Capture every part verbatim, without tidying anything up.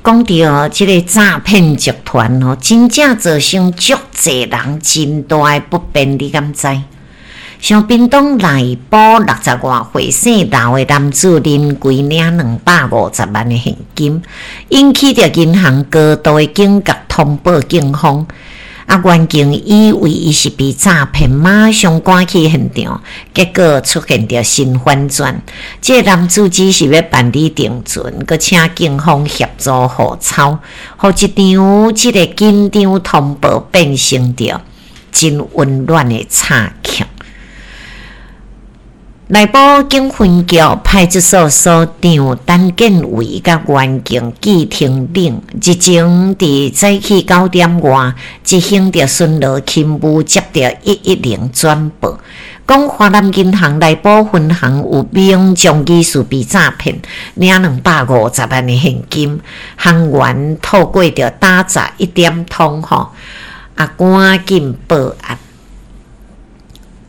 講著這个詐騙集團吼，真正造成足濟人真大的不便，你敢知？像屏東內埔六十外歲姓劉的男子林桂領兩百五十萬的現金，引起著銀行高度的警覺，通報警方。啊，員警以為伊是被詐騙，馬上趕去現場，結果出現著新反轉。這个男子只是欲辦理定存，閣請警方協助戶抄，予一場這个緊張通報變成著真溫暖的慘劇。內埔警分局派出所所長陳建偉佮員警紀廷領日前佇早起九點外執行著巡邏勤務，接著一一零轉報，講華南銀行內埔分行有民眾疑似被詐騙，領兩百五十萬的現金，行員透過著打詐一點通吼，啊，趕緊報案。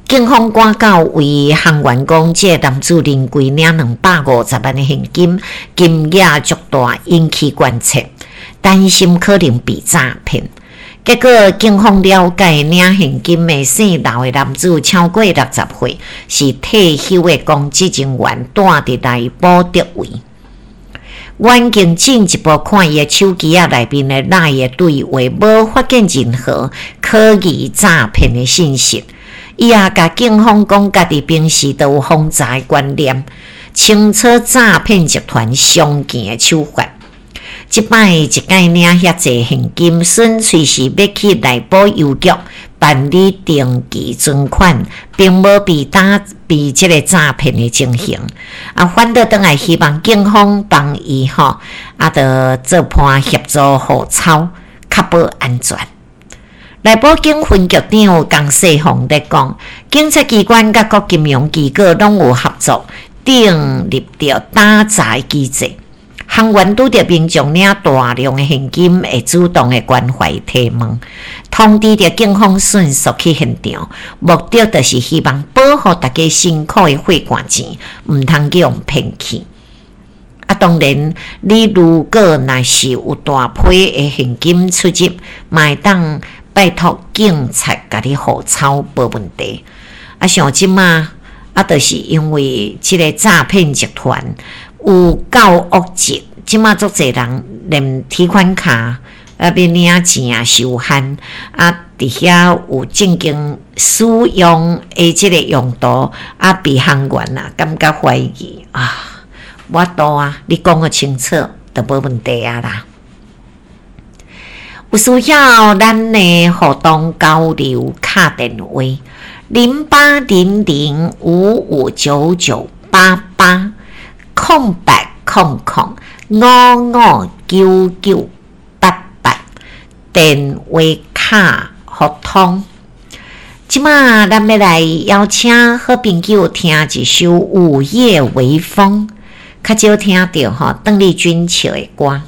警方趕到位，行員講，這个男子林桂領兩百五十萬的現金，金額足大，引起關切，擔心可能被詐騙。結果警方了解，領現金的姓劉的男子超過六十歲，是退休的公職人員，住佇內埔竹圍。員警進一步看伊的手機仔內面的 LINE 的對話，無發現任何可疑詐騙的信息。伊也共警方講，家己平時都有防詐的觀念，清楚詐騙集團常見的手法。這擺一擺領遐濟現金，純粹是欲去內埔郵局辦理定期存款，並無被打被這个詐騙的情形。啊，反倒轉來希望警方幫伊吼，啊，著做伴協助戶抄，確保安全。內埔警分局長江世鳳咧講，警察機關佮各金融機構攏有合作，訂立著打詐機制。行員拄著民眾領大量的現金，會主動的關懷提問，通知著警方迅速去現場，目的就是希望保護大家辛苦的血汗錢，毋通去予人騙去。啊，當然，你如果若是有大批的現金出入，嘛會當拜託警察共你戶抄，無問題。啊，像這馬啊，就是因為這个詐騙集團有夠惡質，這馬足濟人連提款卡啊，欲領錢也受限，啊，佇遐有正經使用的這个用途，啊，被行員啊感覺懷疑啊，無法度啊，你講予清楚就無問題啊啦。有需要咱的互動交流敲電話零八零零五五九九八八空八空空五五九九八八電話卡互通。這馬咱欲來邀請好朋友聽一首《午夜微風》，較少聽著吼鄧麗君唱的歌。